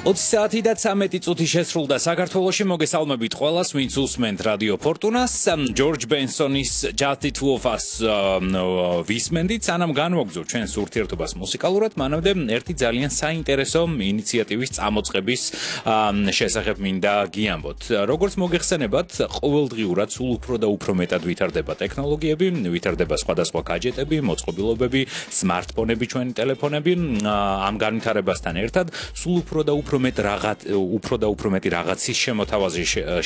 20 საათი და 13 წუთი შესრულდა საქართველოში. მოგესალმებით ყველას, ვინც უსმენთ რადიო ფორტუნას. ჯორჯ ბენსონის Just the Two of Us ვისმენდით, სანამ განვაგრძობ ჩვენს ურთიერთობას მუსიკალურად, მანამდე ერთი ძალიან საინტერესო ინიციატივის წამოწყების შესახებ მინდა გიამბოთ. როგორც მოგეხსენებათ, ყოველდღიურად სულ უფრო და უფრო მეტად ვითარდება ტექნოლოგიები, ვითარდება სხვადასხვა გაჯეტები, მოწყობილობები, სმარტფონები, ჩვენი ტელეფონები. ამ განვითარებასთან ერთად სულ უფრო და უფრო მეტი რაღაცის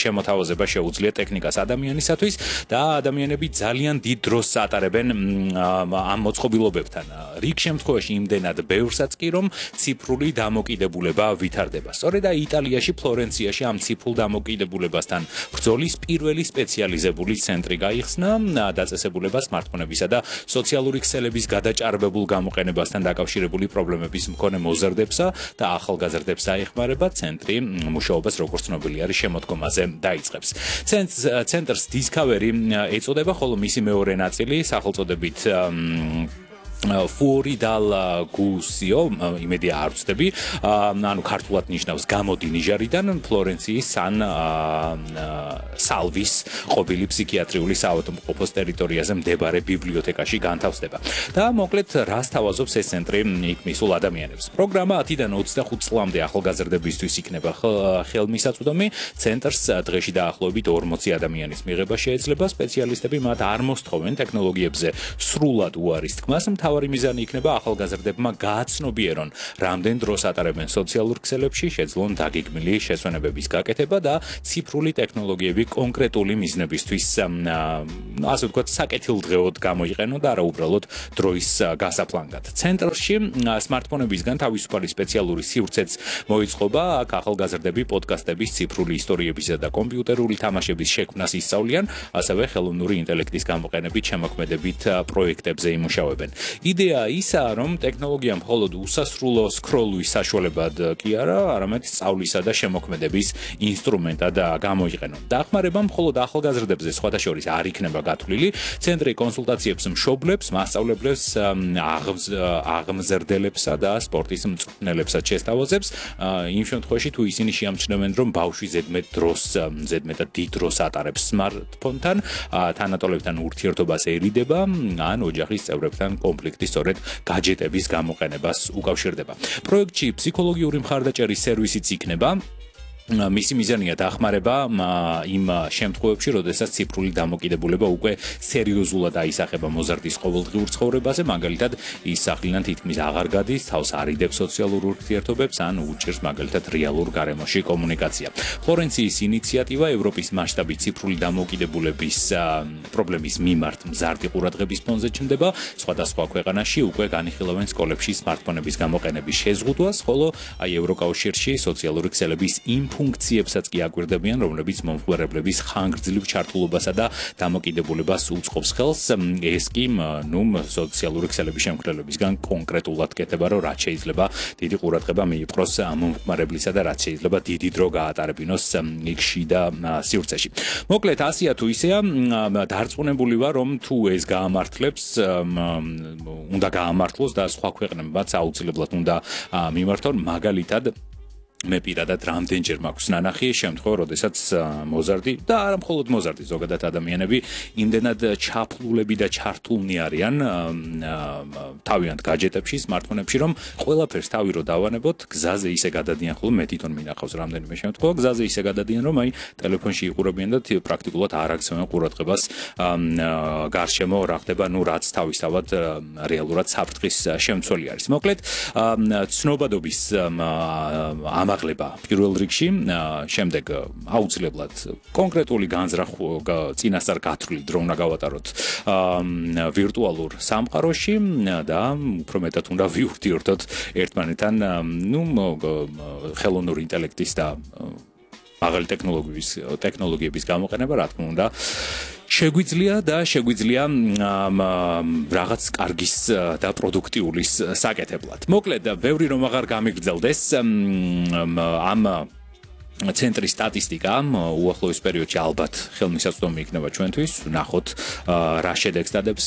შემოთავაზება შეუძლია ტექნიკას ადამიანისათვის და ადამიანები ძალიან დიდ დროს ატარებენ ამ მოწყობილობებთან. რიგ შემთხვევაში იმდენად ბევრსაც კი რომ ციფრული დამოკიდებულება ვითარდება. სწორედ იტალიაში, ფლორენციაში ამ ციფრულ დამოკიდებულებასთან ბრძოლის პირველი სპეციალიზებული ცენტრი გაიხსნა დაწესებულება სმარტფონებისა და სოციალური ქსელების გადაჭარბებულ გამოყენებასთან დაკავშირებული პრობლემების მქონე მოზარდებსა და ახალგაზრდებს აეხმარება. ცენტრი მუშაობას როგორც ცნობილი არის შემოდგომაზე დაიწყებს. ცენტრს Discovery ეწოდება, ხოლო მისი მეორე ნაწილი სახელწოდებით Fuori dal Gusio, იმედია არ ვწდები, ანუ ქართულად ნიშნავს გამოდი ნიჟარიდან, ფლორენციის ან სალვის ყოფილი ფსიქიატრიული საავადმყოფოს ტერიტორიაზე მდებარე ბიბლიოთეკაში განთავსდება. და მოკლედ რას თავაზობს ეს ცენტრი იქ მისულ ადამიანებს. პროგრამა 10-დან 25 წლამდე ახალგაზრდებისთვის იქნება ხელმისაწვდომი. ცენტრს დღეში დაახლოებით 40 ადამიანის მიღება შეეძლება. სპეციალისტები მათ არ მოსთხოვენ ტექნოლოგიებზე სრულად უარის თქმას. მთავარი მიზანი იქნება ახალგაზრდებმა გააცნობიერონ, რამდენ დროს ატარებენ სოციალურ ქსელებში, შეძლონ დაგეგმილი შესვენებების გაკეთება და ციფრული ტექნოლოგიები კონკრეტული მიზნებისთვის, ასე ვთქვათ, საკეთილდღეოდ გამოიყენონ და არა უბრალოდ დროის გასაფლანგად. ცენტრში სმარტფონებისგან თავისუფალი სპეციალური სივრცეც მოიწყობა. აქ ახალგაზრდები პოდკასტების, ციფრული ისტორიებისა და კომპიუტერული თამაშების შექმნას ისწავლიან, ასევე ხელოვნური ინტელექტის გამოყენებით შემოქმედებით პროექტებზე იმუშავებენ. იდეა ისაა, რომ ტექნოლოგია მხოლოდ უსასრულო სკროლვის საშუალებად კი არა, არამედ სწავლისა და შემოქმედების ინსტრუმენტად გამოიყენონ. დახმარება მხოლოდ ახალგაზრდებზე სხვათა შორის არ იქნება გათვლილი. ცენტრი კონსულტაციებს მშობლებს, მასწავლებლებს, აღმზრდელებსა და სპორტის მწვრთნელებსაც შესთავაზებს. იმ შემთხვევაში თუ ისინი შეამჩნევენ, რომ ბავშვი ზედმეტად დიდ დროს ატარებს სმარტფონთან, თანატოლებთან ურთიერთობას ერიდება, ან ოჯახის წევრებთან კონფლიქტი სწორედ გაჯეტების გამოყენებას უკავშირდება. პროექტში ფსიქოლოგიური მხარდაჭერის სერვისიც იქნება. მისი მიზანია დახმარება იმ შემთხვევებში, როდესაც ციფრული დამოკიდებულება უკვე სერიოზულად აისახება მოზარდის ყოველდღიურ ცხოვრებაზე, მაგალითად ის სახლიდან თითქმის აღარ გადის, თავს არიდებს სოციალურ ურთიერთობებს ან უჭირს მაგალითად რეალურ გარემოში კომუნიკაცია. ფლორენციის ინიციატივა ევროპის მასშტაბით ციფრული დამოკიდებულების პრობლემის მიმართ მზარდი ყურადღების ფონზე ჩნდება. სხვადასხვა ქვეყანაში უკვე განიხილავენ სკოლებში სმარტფონების გამოყენების შეზღუდვას, ხოლო ევროკავშირში სოციალური ქსელების ფუნქციებსაც კი აკვირდებიან, რომლებიც მომხმარებლების ხანგრძლივ ჩართულობასა და დამოკიდებულებას უწყობს ხელს. ეს კი სოციალური ქსელების შემქმნელებისგან კონკრეტულად კეთება, რომ რაც შეიძლება დიდი ყურადღება მიიპყროს მომხმარებლისა და რაც შეიძლება დიდი დრო გაატარებინოს იქ შიდა სივრცეში. მოკლედ, ასეა თუ ისეა, დარწმუნებული ვარ, რომ თუ ეს გაამართლებს, უნდა გაამართლოს და სხვა ქვეყნებმაც აუცილებლად უნდა მიმართონ, მაგალითად მე პირადად რამდენჯერ მაქვს ნანახი შემთხვევა, როდესაც მოზარდი და არა მხოლოდ მოზარდი, ზოგადად ადამიანები იმდენად ჩაფლულები და ჩართულნი არიან თავიანთ გაჯეტებში, სმარტფონებში, რომ ყველაფერს თავი რო დავანებოთ, გზაზე ისე გადადიან, ხოლმე მე თვითონ მინახავს რამდენიმე შემთხვევა, გზაზე ისე გადადიან, რომ აი ტელეფონში იყურებიან და პრაქტიკულად არ აქცევენ ყურადღებას გარშემო რა ხდება, რაც თავისთავად რეალურად საფრთხის შემცველი არის. მოკლედ, ცნობადობის ამაღლება პირველ რიგში, შემდეგ აუცილებლად კონკრეტული განზრახვა წინასწარ გათვლილი დრო უნდა გავატაროთ ვირტუალურ სამყაროში და უფრო მეტად უნდა ვიურთიერთოთ ერთმანეთთან, ხელოვნური ინტელექტის და მაღალი ტექნოლოგიების გამოყენება, რა თქმა უნდა, შეგვიძლია რაღაც კარგის და პროდუქტიულის საკეთებლად. მოკლედ, ბევრი რომ აღარ გამიგრძელდეს ამ ცენტრის სტატისტიკა უახლოეს პერიოდში ალბათ ხელმისაწვდომი იქნება ჩვენთვის. ვნახოთ რა შედეგს დადებს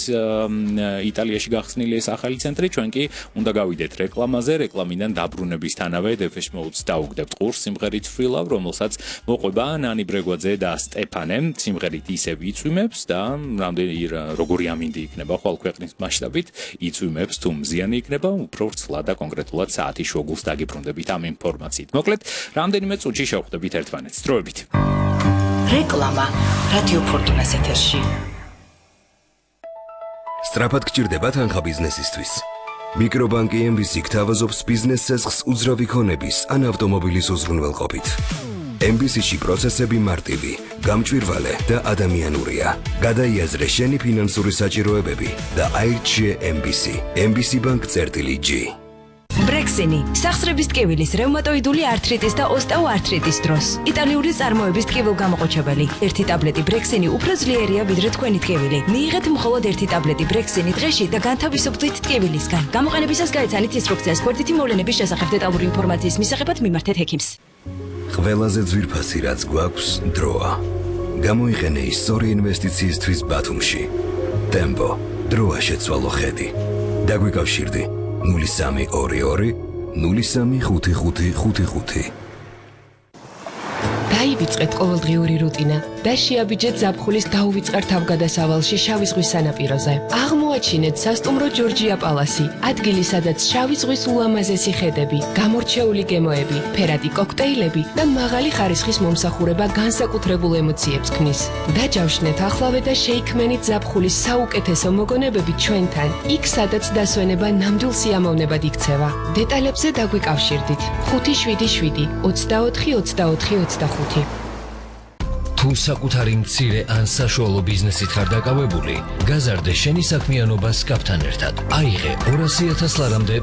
იტალიაში გახსნილი ეს ახალი ცენტრი. ჩვენ კი უნდა გავიდეთ რეკლამაზე. რეკლამიდან დაბრუნებისთანავე Depeche Mode-ს დაუგდებთ ყურს სიმღერით Free Love, რომელსაც მოყვება ნანი ბრეგვაძე და სტეფანე. სიმღერით ისევ იწვიმებს და როგორი ამინდი იქნება ხვალ ქვეყნის მასშტაბით, იწვიმებს თუ მზიანი იქნება, უფრო ვრცლად და კონკრეტულად საათის შუაგულს დაგიბრუნდებით ამ ინფორმაციით. მოკლედ, რამდენიმე წუთში შევხვდებით ერთმანეთს. დროებით. რეკლამა რადიო ფორტუნას ეთერში. სწრაფად გჭირდება თანხა ბიზნესისთვის. მიკრობანკი MBC გთავაზობს ბიზნეს ცესხს უძრავი ქონების ან ავტომობილის უზრუნველყოფით. MBC-ში პროცესები მარტივი, გამჭვირვალე და ადამიანურია. გადაიაზრე შენი ფინანსური საჭიროებები და აირჩიე MBC. MBC Bank-G. ბრექსინი, სახსრების ტკივილის, რევმატოიდული ართრიტის და ოსტეოართრიტის დროს. იტალიური წარმოების ტკივილგამოყოჩებელი. ერთი ტაბლეტი ბრექსინი უფრო ძლიერია ვიდრე თქვენი ტკივილი. მიიღეთ მხოლოდ ერთი ტაბლეტი ბრექსინი დღეში და განთავისუფლდით ტკივილისგან. გამოყენებისას გაეცანით ინსტრუქციას გვერდითი მოვლენების შესახებ დეტალური ინფორმაციის მისაღებად მიმართეთ ჰექიმს. ყველაზე ძვირფასი რაც გვაქვს დროა. გამოიყენე ის სწორი ინვესტიციისთვის ბათუმში. ტემპო, დროა შეცვალო ხედი. დაგვიკავშირდი 0322 035555. დაივიწყეთ ყოველდღიური რუტინა და შეაბიჯეთ ზაფხულის დაუვიწყარ თავგადასავალში შავი ზღვის სანაპიროზე. აღმოაჩინეთ სასტუმრო ჯორჯია პალასი, ადგილი სადაც შავი ზღვის ულამაზესი ხედები, გამორჩეული გემოები, ფერადი კოქტეილები და მაღალი ხარისხის მომსახურება განსაკუთრებულ ემოციებს ქმნის. დაჯავშნეთ ახლავე და შეიქმნით ზაფხულის საუკეთესო მოგონებები ჩვენთან, იქ სადაც დასვენება ნამდვილ სიამოვნებად იქცევა. დეტალებზე დაგვიკავშირდით 577 24 24 25. თუ საკუთარი მცირე ან საშუალო ბიზნესით ხარ დაკავებული, გაზარდე შენი საქმიანობა სკაფთან ერთად. აიღე 200,000 ლარამდე